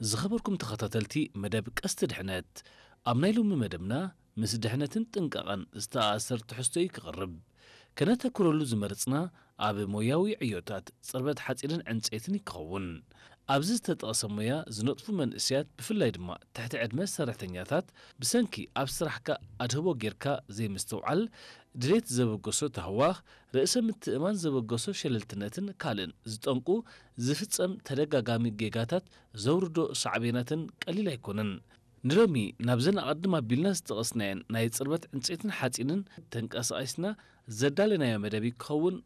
ዝኸበርኩም ተኸታተልቲ መደብ ቀስቲ ድሕነት፣ ኣብ ናይ ሎሚ መደብና ምስ ድሕነትን ጥንቃቐን ዝተኣሳሰር ትሕዝቶ እዩ ክቐርብ። ከነተኩረሉ ዝመረጽና ኣብ ሞያዊ ዕዮታት ጽርበት ሓጺንን ዕንጸይትን ይከውን። ኣብዚ ዝተጠቕሰ ሞያ ዝነጥፉ መንእሰያት፣ ብፍላይ ድማ ትሕቲ ዕድመ ሰራሕተኛታት፣ ብሰንኪ ኣብ ስራሕካ ኣድህቦ ጌርካ ዘይምስትውዓል፣ ድሌት ዘበገሶ ታህዋኽ፣ ርእሰ ምትእማን ዘበገሶ ሸለልትነትን ካልእን ዝጠንቁ ዝፍጸም ተደጋጋሚ ጌጋታት ዘውርዶ ሳዕቤናትን ቀሊል ኣይኮነን። ንሎሚ ናብዘን ኣቐድም ኣቢልና ዝጠቐስናየን ናይ ጽርበት ዕንጸይትን ሓጺንን ተንቀሳቒስና ዘዳለናዮ መደብ ክኸውን